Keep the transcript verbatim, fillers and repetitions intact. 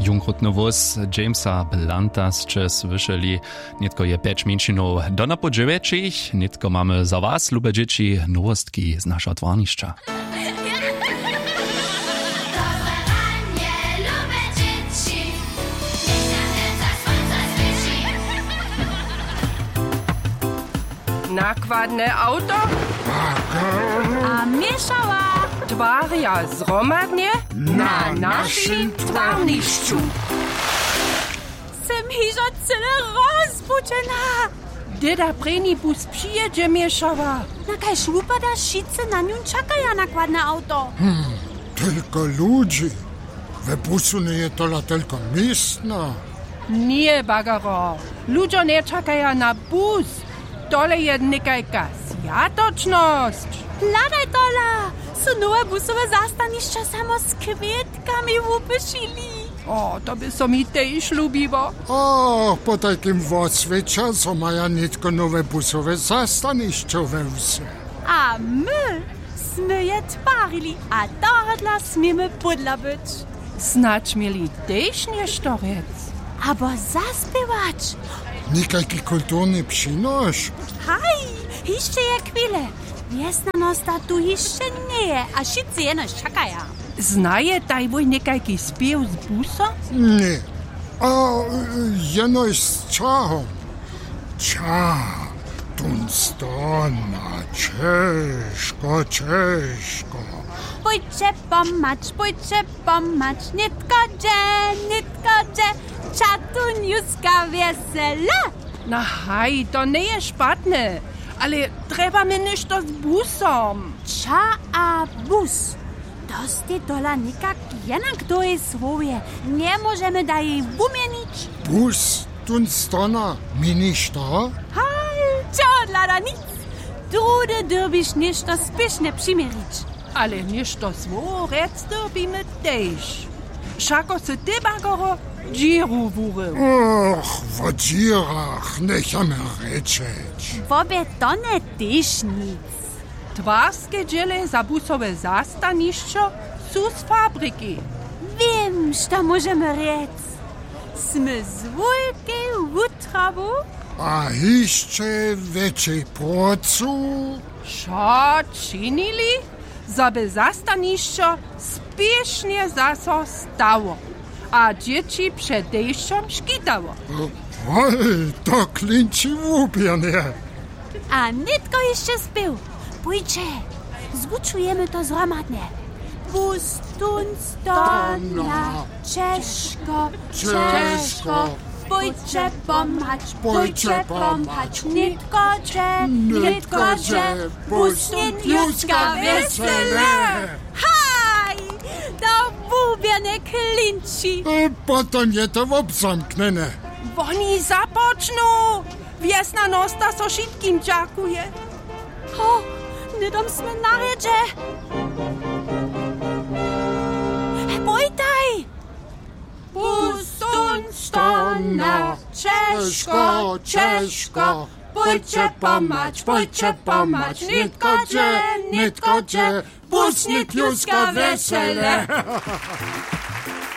Junkrutny wós Jamesa Blanta sće słyšeli. Nětko je pjeć mjeńšinow do napoł dźewjećich. Nětko mamy za was, lube dźěći, nowostki z našeho twarnišća. Nakładne awto a měšała twarja zhromadnje na našim twarnišću. Sym hižo cyle rozbudźena. Dyda prěni bus přijědźe, měšała. Na kaž wupada, wšitcy na njón čakaja, nakładne awto. Hm, tolko ludźi. We busu njeje tola tolko městna. Ně, bagaro, ludźo nječakaja na bus. Tole je někajka swjatočnosć. Hladaj tola, su nowe busowe zastanišćo samo z kwětkami wupyšili. O, to by so mi tež lubiło. O, po tajkim woswěća, zo maja nětko nowe busowe zastanišćo we wsy. A my smy je twarili a tohodla směmy pódla być. Snadź měli tež něšto rjec. Abo zaspěwać. Někajki kulturny přinoš. Haj, hišće je chwile. Wjesnjanosta tu hišće njeje a wšitcy jenož čakaja. Znajetaj wój někajki spěw z busom? Ně. A jenož z čahom. Ča, tón stona, ćežko, ćežko. Pójće pomhać, pójće pomhać, nětko dźe, nětko dźe, ča tón juska wjesele. Na haj, to njeje špatne, ale trjebamy něšto z busom. Ča a bus. To stej tola někak jenak w tej słowje. Njemóžemy da jej wuměnić. Bus, tón stona, měniš to? Haj, čehodla da nic. Druhdy dyrbiš něšto spěšnje přiměrić. Ale něšto słowow rjec dyrbimy tež. Wšako sy ty, bagoro, dźěru wurył. Och, wo dźěrach njechamy rěčeć. Wobě to nje tež nic. Twarske dźěle za busowe zastanišćo su z fabriki. Wěm, što móžemy rjec. Smy z wulkej wutrawu a hišće wjetšej prócu wšo činili, zo by zastanišćo spěšnje zaso stało a dźěći před dešćom škitało. Hoj, to klinči łubjanje. A nětko hišće spěw. Pójće, zwučujemy to zhromadnje. Bus tón stona, ćežko, ćežko, pójće pomhać, pójće pomhać, nětko dźe, nětko dźe, bus ně tluska wjesele. Haj, to łubjanje klinči. E, potom je to wobzamknjene. Woni započnu! Wjesnjanosta so wšitkim dźakuje. Ho, hnydom smy na rjedźe. Pójtaj! Pustón stona, ćežko, ćežko, pójće pomhać, pójće pomhać, nětko dźe, nětko dźe, bus ně tluska wjesele.